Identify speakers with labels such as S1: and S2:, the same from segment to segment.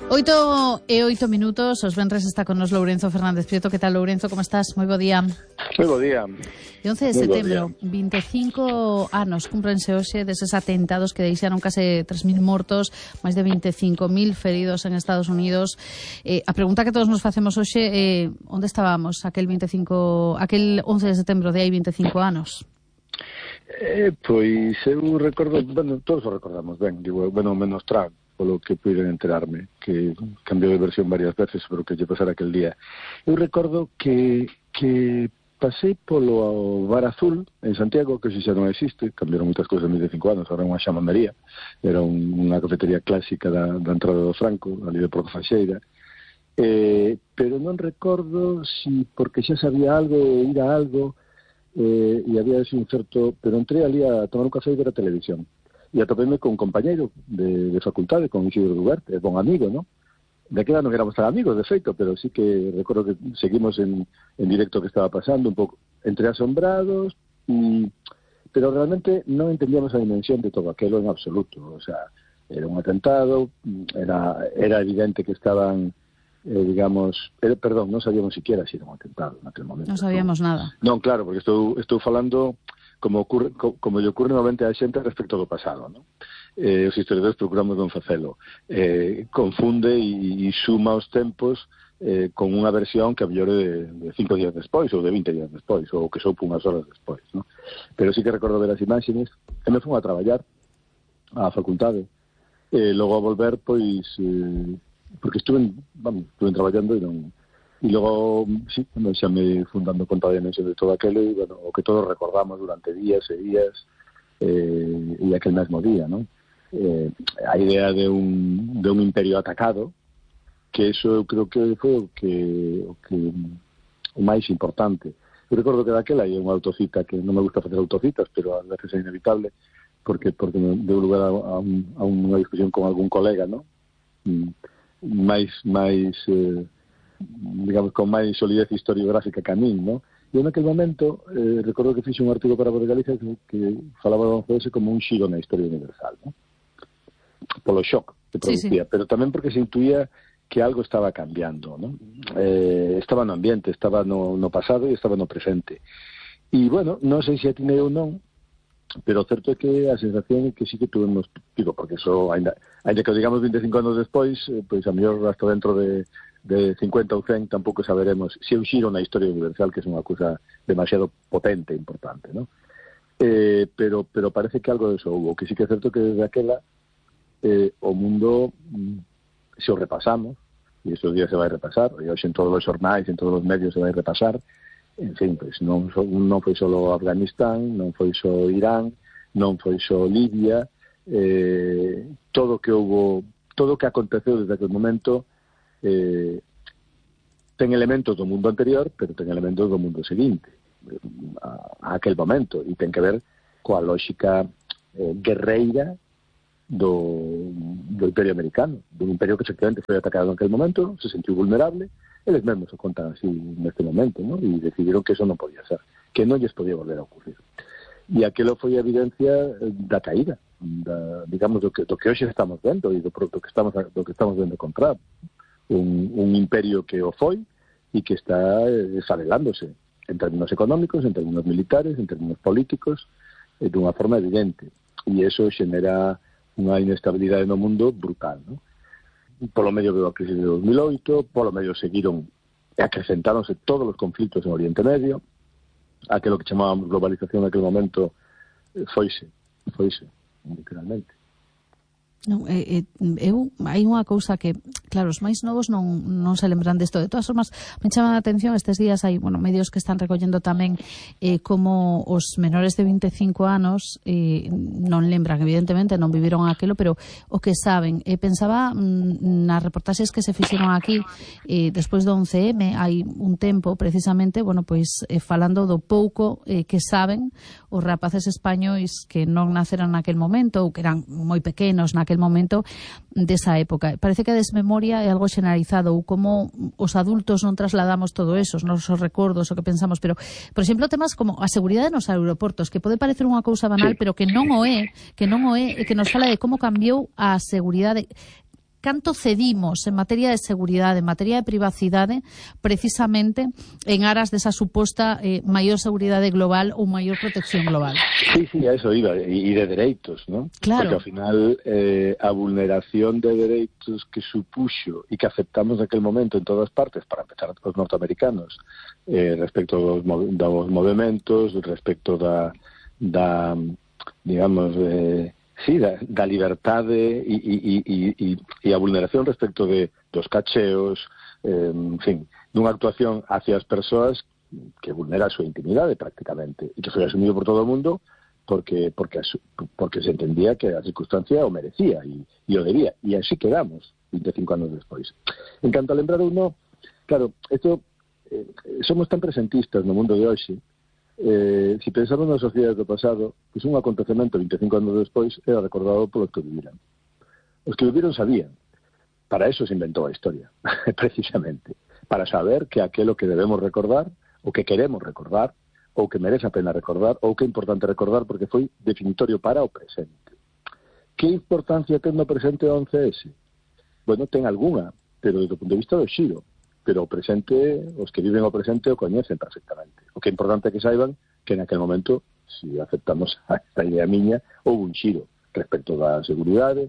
S1: 8:08, os venres está con nos Lourenzo Fernández Prieto. Que tal, Lourenzo, como estás? Moi bo día.
S2: Moi bo día.
S1: E 11 de setembro, 25 anos cumprense hoxe deses atentados que deixaron case 3.000 mortos, máis de 25.000 feridos en Estados Unidos. A pregunta que todos nos facemos hoxe é onde estábamos aquel 11 de setembro de hai 25 anos?
S2: Pois eu recordo, bueno, todos o recordamos ben, digo, bueno, menos Trump, polo que puiden enterarme, que cambiou de versión varias veces sobre o que lle pasara aquel día. Eu recordo que pasei polo Bar Azul en Santiago, que xa non existe, cambiaron moitas cousas en 25 anos, ahora é unha xamandería, era unha cafetería clásica da entrada do Franco, ali de Porto Faxeira, pero non recordo si porque xa sabía algo, ir a algo, e había ese un certo, pero entré ali a tomar un café e ver a televisión. E atopéme con un compañeiro de facultade, con Isidro Duarte, bon amigo, ¿no? De aquela non éramos tan amigos, de feito, pero sí que recordo que seguimos en directo que estaba pasando, un pouco entre asombrados, pero realmente non entendíamos a dimensión de todo aquilo en absoluto. O sea, era un atentado, era evidente que estaban, non sabíamos siquiera si era un atentado en aquel momento.
S1: Non sabíamos nada.
S2: Non, claro, porque estou falando como lle ocurre novamente a xente respecto do pasado, ¿no? Os historiadores procuramos non facelo. Confunde e suma os tempos con unha versión que a mellor de 5 días despois ou de 20 días despois ou que soupo unhas horas despois, ¿no? Pero sí que recordo ver as imaxes e me fun a traballar á facultade logo a volver, pois porque estuve traballando e logo, sí, xa me fui dando conta da dimensión de todo aquilo e, bueno, o que todos recordamos durante días e días e aquel mesmo día, ¿no? A idea de un imperio atacado, que eso eu creo que foi o máis importante. Eu recordo que daquela hai unha autocita que non me gusta facer autocitas, pero a veces é inevitable, porque me deu lugar a unha discusión con algún colega, ¿no? Digamos, con máis solidez historiográfica que a min, ¿no? E en aquel momento recordo que fixe un artigo para Voz de Galicia que falaba do 11S como un xiro na historia universal, ¿no? Polo shock que producía, sí. Pero tamén porque se intuía que algo estaba cambiando, ¿no? Estaba no ambiente, estaba no pasado e estaba no presente. E, bueno, non sei se atinei ou non, pero o certo é que a sensación é que sí que tuvemos, digo, porque eso, ainda que o digamos 25 anos despois, pois a mellor hasta dentro de 50 ou 100 tampouco saberemos se un xiro na historia universal, que é unha cousa demasiado potente e importante, ¿no? Pero parece que algo de eso hubo, que sí que é certo que desde aquela o mundo, se o repasamos, e estes días se vai repasar, e hoxe en todos os xornais, en todos os medios se vai repasar, en fin, pois non foi só Afganistán, non foi só Irán, non foi só Libia, todo o que aconteceu desde aquel momento ten elementos do mundo anterior, pero ten elementos do mundo seguinte a aquel momento, e ten que ver coa lógica guerreira do Imperio Americano, dun imperio que efectivamente foi atacado en aquel momento, se sentiu vulnerable, eles mesmos o contan así neste momento, ¿no? E decidiron que eso non podía ser, que non lles podía volver a ocurrir. E aquilo foi a evidencia da caída, digamos, do que hoxe estamos vendo e do que estamos vendo contra un imperio que o foi e que está desarrelándose en términos económicos, en términos militares, en términos políticos, dunha forma evidente. E eso xenera unha inestabilidade no mundo brutal, ¿no? Polo medio veo a crisis de 2008, polo medio seguiron e acrecentáronse todos os conflitos en Oriente Medio, aquilo que chamábamos globalización en aquel momento foise, literalmente.
S1: Non, hai unha cousa que, claro, os máis novos non se lembran desto. De todas formas, me chama a atención estes días, hai medios que están recollendo tamén como os menores de 25 anos non lembran, evidentemente, non viviron aquilo, pero o que saben. Pensaba nas reportaxes que se fixeron aquí despois do 11M, hai un tempo, precisamente, pois falando do pouco que saben os rapaces españois que non naceran naquel momento ou que eran moi pequenos naquel momento desa época. Parece que a desmemoria é algo xeneralizado, ou como os adultos non trasladamos todo eso, os nosos recordos, o que pensamos, pero, por exemplo, temas como a seguridade nos aeroportos, que pode parecer unha cousa banal, pero que non o é, e que nos fala de como cambiou a seguridade canto cedimos en materia de seguridade, en materia de privacidade, precisamente en aras desa suposta maior seguridade global ou maior protección global.
S2: Sí, a eso iba, e de dereitos, ¿no?
S1: Claro.
S2: Porque ao final a vulneración de dereitos que supuxo e que aceptamos naquel momento en todas partes, para empezar os norteamericanos, respecto dos movimentos, respecto da digamos, da liberdade e a vulneración respecto dos cacheos, en fin, dunha actuación hacia as persoas que vulnera a súa intimidade prácticamente, e que foi asumido por todo o mundo porque se entendía que a circunstancia o merecía e o debía, e así quedamos 25 anos despois. En canto a lembrar ou non, claro, isto somos tan presentistas no mundo de hoxe. Si pensamos nas sociedades do pasado, pois un acontecemento 25 anos despois era recordado polos que viviran. Os que viviron sabían. Para eso se inventou a historia, precisamente. Para saber que aquilo que debemos recordar, o que queremos recordar, ou que merece a pena recordar, ou que é importante recordar porque foi definitorio para o presente. Que importancia ten no presente o 11S? Bueno, ten algunha, pero desde o punto de vista do xiro. Pero o presente, os que viven o presente o coñecen perfectamente. O que é importante é que saiban que en aquel momento, se aceptamos esta idea miña, houve un xiro respecto da seguridade,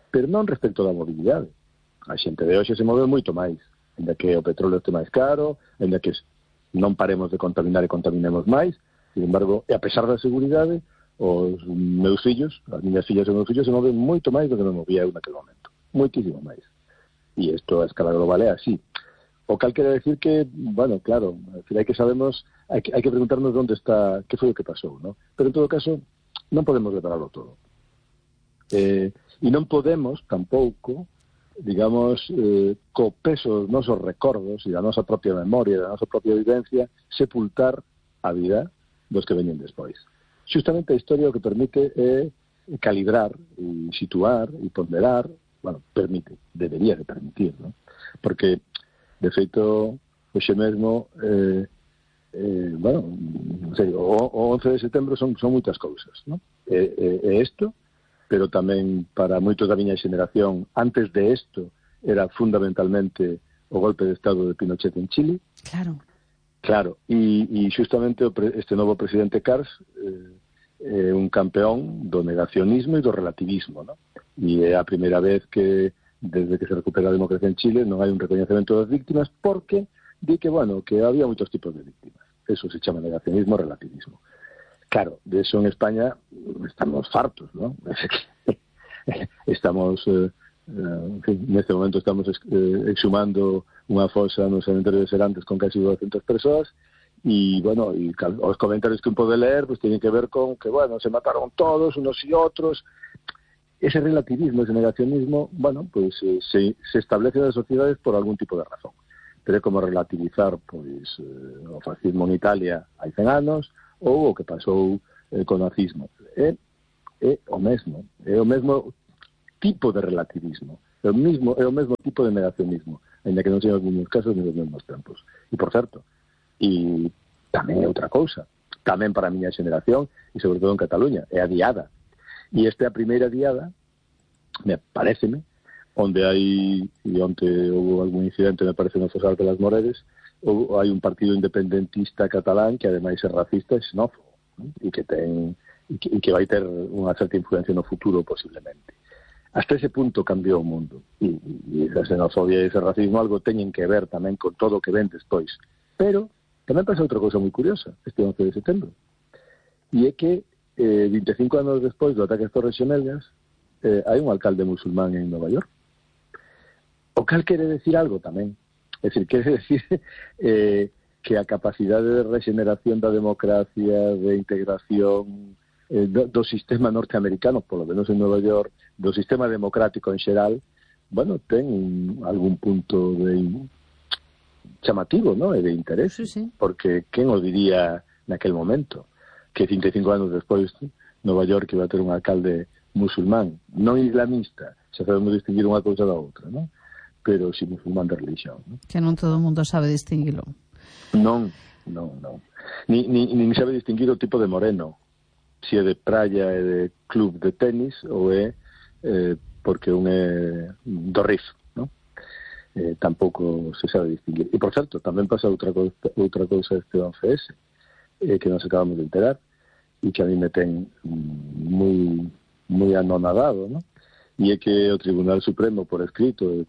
S2: pero non respecto da mobilidade. A xente de hoxe se move moito máis, ainda que o petróleo este máis caro, ainda que non paremos de contaminar e contaminemos máis. Sin embargo, e a pesar da seguridade, os meus fillos, as miñas fillas e os meus fillos se moven moito máis do que me movía eu naquele momento. Moitísimo máis. E isto a escala global é así. O cal quere decir que, bueno, claro, hai que sabemos, hai que preguntarnos onde está, que foi o que pasou, ¿no? Pero en todo caso, non podemos repararlo todo. E non podemos tampouco, digamos, co peso dos nosos recordos e da nosa propia memoria, da nosa propia vivencia, sepultar a vida dos que veñen despois. Justamente a historia o que permite é calibrar, e situar, e ponderar, bueno, permite, debería de permitir, ¿no? Porque, de feito, hoxe mesmo, bueno, en serio, o 11 de setembro son moitas cousas, ¿no? É isto, pero tamén para moitos da miña xeneración, antes de isto, era fundamentalmente o golpe de Estado de Pinochet en Chile. Claro, e justamente este novo presidente Cars é un campeón do negacionismo e do relativismo, ¿no? E é a primeira vez que, desde que se recupera a democracia en Chile, non hai un recoñecemento das víctimas, porque di que, bueno, que había moitos tipos de víctimas. Eso se chama negacionismo, relativismo. Claro, de eso en España estamos fartos, ¿no? Estamos, en fin, neste momento estamos exhumando unha fosa no cementerio de Serantes con casi 200 persoas, y bueno, y os comentarios que un pode ler pues tienen que ver con que, bueno, se mataron todos, unos y otros. Ese relativismo, ese negacionismo, bueno, pues se establece en las sociedades por algún tipo de razón. Pero é como relativizar, pois, o fascismo en Italia hai 100 anos, ou o que pasou co nazismo. É o mesmo tipo de relativismo, é o mesmo tipo de negacionismo, ainda que non sean os mesmos casos ni os mesmos tempos. E, por certo, e tamén é outra cousa, tamén para a miña xeneración, e sobre todo en Cataluña, é a diada. E esta é a primeira diada, me pareceme, onde hai, e onde houve algún incidente, me parece, no Fosal de las Moreres, hai un partido independentista catalán que ademais é racista e xenófobo, e que vai ter unha certa influencia no futuro posiblemente. Hasta ese punto cambiou o mundo, e esa xenofobia e ese racismo algo teñen que ver tamén con todo o que ven despois. Pero tamén pasa outra cousa moi curiosa este 11 de setembro, e é que 25 anos despois do ataque ás Torres Xemelgas hai un alcalde musulmán en Nova York, o cal quere decir algo tamén. É dicir, quere decir que a capacidade de regeneración da democracia, de integración do sistema norteamericano, polo menos en Nova York, do sistema democrático en xeral, bueno, ten algún punto de chamativo, ¿no? E de interés,
S1: sí.
S2: Porque quen o diría naquel momento que 55 anos despois Nova York iba a ter un alcalde musulmán, non islamista, xa sabemos distinguir unha cousa da outra, ¿no? Pero si musulmán de religión, ¿no?
S1: Que non todo o mundo sabe distinguilo.
S2: Non. Nin sabe distinguir o tipo de moreno, si é de praia, é de club de tenis, ou é porque un é do RIF, non? Tampouco se sabe distinguir. E, por certo, tamén pasa outra cousa este 11S, que nos acabamos de enterar, e que a mí me ten moi anonadado, non? E é que o Tribunal Supremo, por escrito,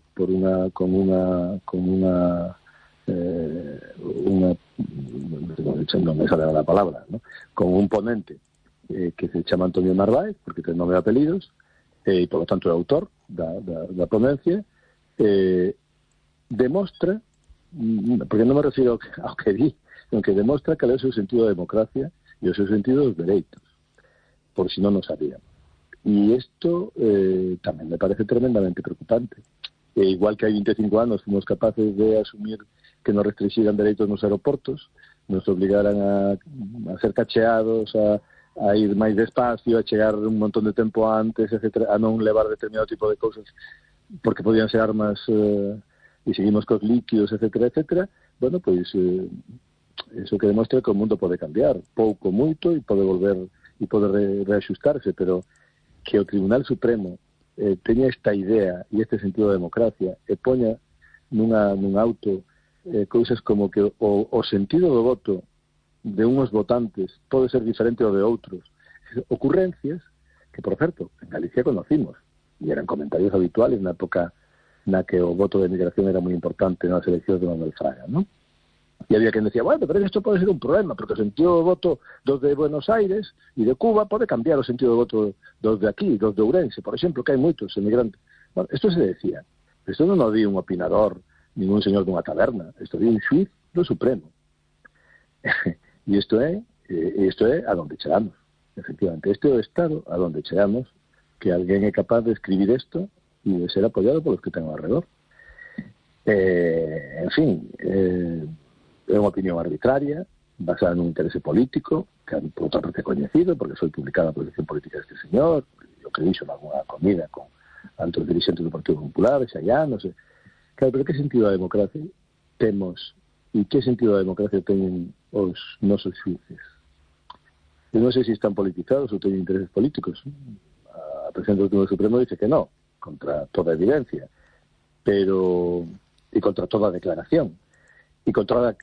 S2: non me sale a palabra, ¿no? Con un ponente que se chama Antonio Narváez, porque ten nome e apelidos, e por lo tanto é autor da ponencia, demostra, porque non me refiro ao que di, sino que demostra cal é o seu sentido da democracia e o seu sentido dos dereitos, por si non o sabíamos. E isto tamén me parece tremendamente preocupante. Igual que hai 25 anos fomos capaces de asumir que nos restringiran dereitos nos aeroportos, nos obligaran a ser cacheados, a ir máis despacio, a chegar un montón de tempo antes, etc., a non levar determinado tipo de cousas porque podían ser armas, e seguimos cos líquidos, etc., etc. Bueno, pois eso que demostra que o mundo pode cambiar, pouco, moito, e pode volver e pode reaxustarse, pero que o Tribunal Supremo teña esta idea e este sentido de democracia e poña nun auto cousas como que o sentido do voto de unhos votantes pode ser diferente ao de outros. Ocurrencias que, por certo, en Galicia conocimos e eran comentarios habituales na época na que o voto de migración era moi importante nas eleccións de Manuel Fraga, non? E había quen decía, bueno, pero isto pode ser un problema, porque o sentido do voto dos de Buenos Aires e de Cuba pode cambiar o sentido do voto dos de aquí, dos de Ourense, por exemplo, que hai moitos emigrantes. Bueno, isto se decía. Isto non o di un opinador, ningún señor dunha taberna. Isto di un xuiz do Supremo. E isto é a donde chegamos. Efectivamente, este é o estado a donde chegamos, que alguén é capaz de escribir isto e de ser apoiado polos que ten ao redor. En fin, é unha opinión arbitraria, basada nun interese político, que por outra parte é coñecido, porque foi publicada a posición política deste señor, o que dixo nalgúna comida con altos dirigentes do Partido Popular, xa non sei. Claro, pero que sentido da democracia temos e que sentido da democracia teñen os nosos xuíces? Eu non sei se están politizados ou teñen intereses políticos. A presidente do Tribunal Supremo dice que non, contra toda evidencia, pero e contra toda declaración, e contra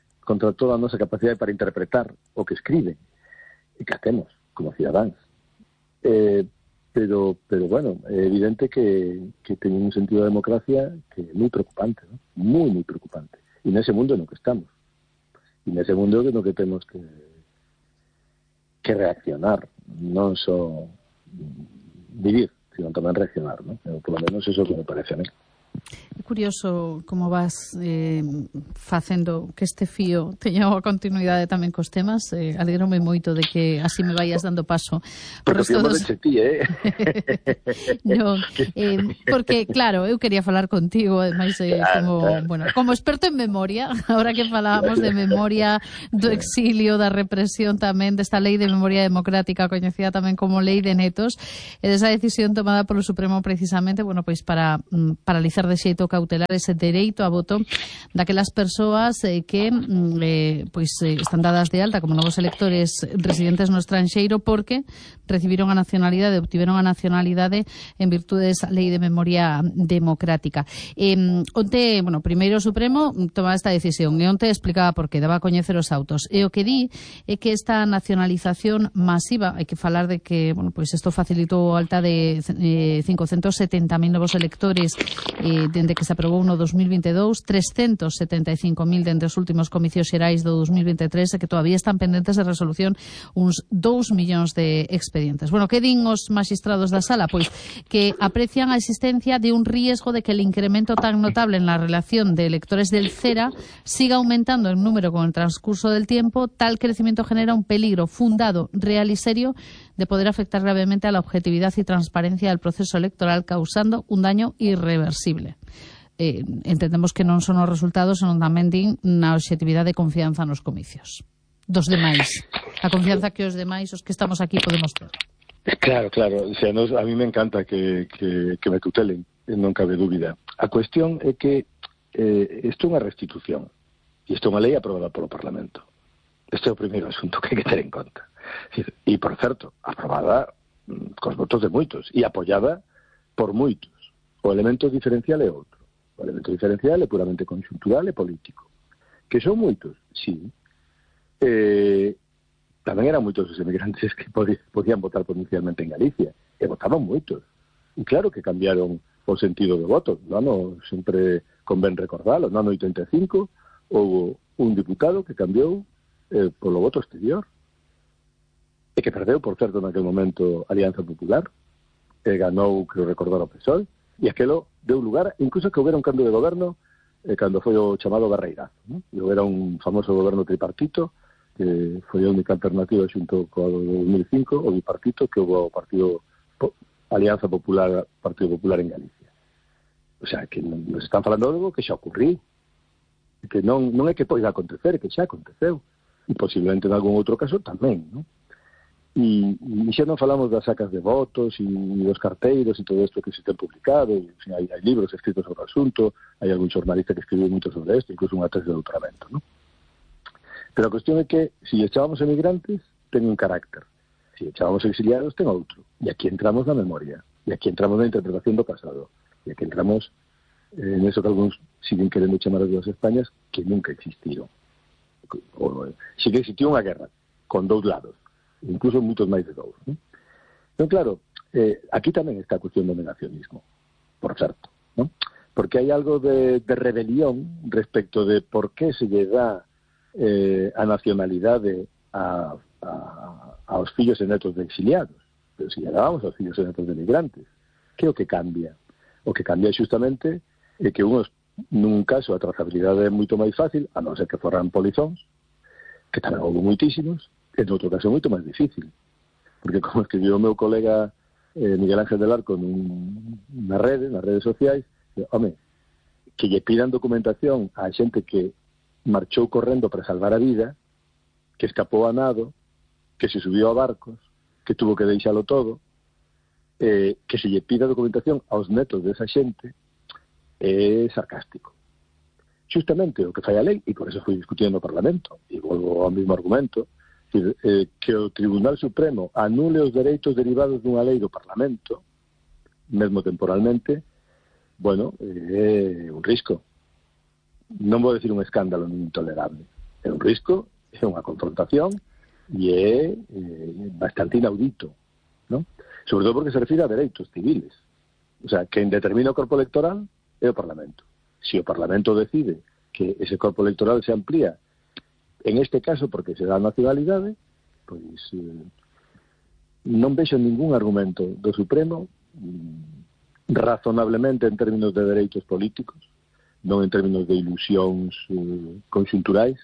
S2: toda a nosa capacidade para interpretar o que escribe e que hacemos como cidadáns. Pero bueno, é evidente que teñen un sentido de democracia que é moi preocupante, ¿no? Moi preocupante. E nese mundo no que estamos. E nese mundo no que temos que reaccionar, non só vivir, sino tamén reaccionar, ¿no? Por lo menos eso que me parece a mí.
S1: É curioso como vas facendo que este fío teña unha continuidade tamén cos temas. Alegrome moito de que así me vayas dando paso.
S2: Porque fío dos... de ti,
S1: no, porque, claro, eu quería falar contigo, ademais, como experto en memoria, ahora que falábamos de memoria do exilio, da represión tamén, desta lei de memoria democrática, coñecida tamén como lei de Netos, e desa decisión tomada polo Supremo precisamente, bueno, pois para paralizar de xeito cautelar ese dereito a voto daquelas persoas que están dadas de alta como novos electores residentes no estranxeiro porque recibiron a nacionalidade, obtiveron a nacionalidade en virtude desa lei de memoria democrática. Onte, primeiro o Supremo tomaba esta decisión e onte explicaba por qué, daba a coñecer os autos. E o que di é que esta nacionalización masiva, hai que falar de que, isto facilitou a alta de 570.000 novos electores dende que se aprobou no 2022, 375.000 dende os últimos comicios xerais do 2023 e que todavía están pendentes de resolución uns 2 millóns de expedientes. Que din os magistrados da sala? Pois que aprecian a existencia de un riesgo de que el incremento tan notable en la relación de electores del CERA siga aumentando en número con el transcurso del tiempo. Tal crecimiento genera un peligro fundado, real y serio de poder afectar gravemente a la objetividad y transparencia del proceso electoral, causando un daño irreversible. Entendemos que non son os resultados, senón tamén din na objetividade e confianza nos comicios dos demais, a confianza que os demais, os que estamos aquí, podemos ter.
S2: Claro, o sea, a mí me encanta que me tutelen, non cabe dúbida. A cuestión é que isto é unha restitución e isto é unha lei aprobada polo Parlamento. Este é o primeiro asunto que hai que ter en conta. E, por certo, aprobada cos votos de moitos e apoiada por moitos. O elemento diferencial é outro. O elemento diferencial é puramente conxuntural e político. Que son moitos, sí. Tamén eran moitos os emigrantes que podían votar provincialmente en Galicia. E votaban moitos. E claro que cambiaron o sentido do voto. No ano, sempre convén recordalo, no ano 85 houve un diputado que cambiou polo voto exterior. E que perdeu, por certo, naquele momento Alianza Popular. E ganou, creo recordar, o PSOE. E aquelo deu lugar, incluso que houbera un cambio de goberno cando foi o chamado Barreirazo, ¿no? E houbera un famoso goberno tripartito que foi a única alternativa xunto co 2005, o bipartito que houve o partido Alianza Popular, Partido Popular en Galicia. O sea, que nos están falando de algo que xa ocurriu, que non é que poida acontecer, é que xa aconteceu, e posiblemente en algún outro caso tamén, ¿no? E xa non falamos das sacas de votos e dos carteiros e todo isto que se ten publicado, e, en fin, hai libros escritos sobre o asunto, hai algún xornalista que escribiu moito sobre isto, incluso unha tese de doutoramento, ¿no? Pero a cuestión é que, se echábamos emigrantes, ten un carácter. Se echábamos exiliados, ten outro. E aquí entramos na memoria. E aquí entramos na interpretación do pasado. E aquí entramos en eso que algúns siguen querendo chamar as dúas Españas, que nunca existiron. Si que existiu unha guerra, con dous lados. Incluso moitos máis de dous, ¿no? Entón, claro, aquí tamén está a cuestión do negacionismo, por certo, ¿no? Porque hai algo de rebelión respecto de por que se lle dá a nacionalidade aos fillos e netos de exiliados, pero se lle dábamos aos fillos e netos de migrantes. Que é o que cambia? O que cambia justamente é que unos, nun caso, a trazabilidade é moito máis fácil, a non ser que forran polizóns, que tamén houve moitísimos, en outro caso é moito máis difícil, porque como escribiu o meu colega Miguel Ángel del Arco nas redes sociais, home, que lle pidan documentación a xente que marchou correndo para salvar a vida, que escapou a nado, que se subiu a barcos, que tuvo que deixalo todo, que se lle pida documentación aos netos desa xente, é sarcástico. Justamente o que fai a lei, e por eso foi discutindo no Parlamento, e volvo ao mesmo argumento, que o Tribunal Supremo anule os dereitos derivados dunha lei do Parlamento, mesmo temporalmente, bueno, é un risco. Non vou decir un escándalo nin intolerable. É un risco, é unha confrontación e é bastante inaudito, ¿no? Sobre todo porque se refire a dereitos civiles. O sea, quen determina o corpo electoral é o Parlamento. Se o Parlamento decide que ese corpo electoral se amplía, en este caso porque se dá a nacionalidade, pois non vexo ningún argumento do Supremo razonablemente en términos de dereitos políticos, non en términos de ilusións conxunturais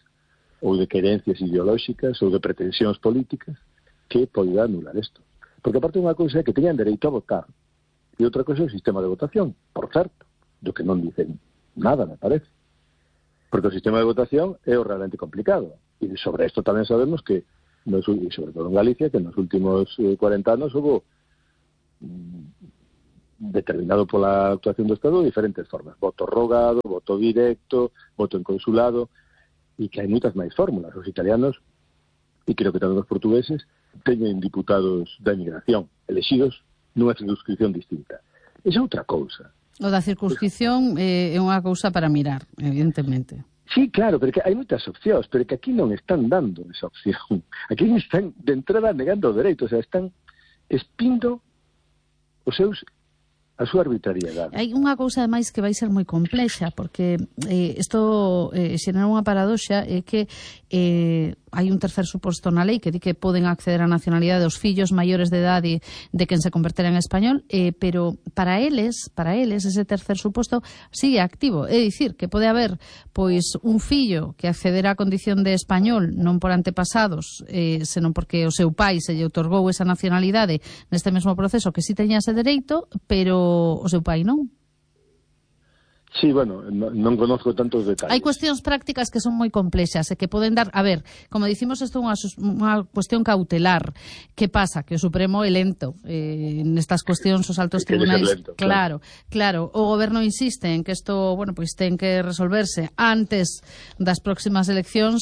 S2: ou de querencias ideolóxicas ou de pretensións políticas que poida anular isto. Porque aparte unha cousa é que teñan dereito a votar e outra cousa é o sistema de votación, por certo, do que non dicen nada, me parece. Porque o sistema de votación é o realmente complicado. E sobre isto tamén sabemos que, sobre todo en Galicia, que nos últimos 40 anos houve determinado pola actuación do Estado de diferentes formas. Voto rogado, voto directo, voto en consulado, e que hai moitas máis fórmulas. Os italianos, e creo que tamén os portugueses, teñen diputados da emigración, elexidos nunha circunscripción distinta. Esa é outra cousa.
S1: O da circunscripción é unha cousa para mirar, evidentemente.
S2: Sí, claro, porque hai moitas opcións, pero que aquí non están dando esa opción. Aquí están de entrada negando o dereito, o sea, están espindo a súa arbitrariedade.
S1: Hai unha cousa ademais que vai ser moi complexa, porque isto xenera unha paradoxa, é que hai un tercer suposto na lei que di que poden acceder á nacionalidade os fillos maiores de idade de quen se convertera en español, pero para eles ese tercer suposto sigue activo, é dicir, que pode haber pois un fillo que accederá á condición de español non por antepasados, senón porque o seu pai se lle outorgou esa nacionalidade neste mesmo proceso que si teña ese dereito, pero o seu pai non.
S2: Sí, bueno, non conozco tantos detalles.
S1: Hai cuestións prácticas que son moi complexas e que poden dar... A ver, como dicimos, isto é unha cuestión cautelar. Que pasa? Que o Supremo é lento. Nestas cuestións, os altos tribunais...
S2: Lento,
S1: claro. O goberno insiste en que isto, bueno, pois ten que resolverse antes das próximas eleccións,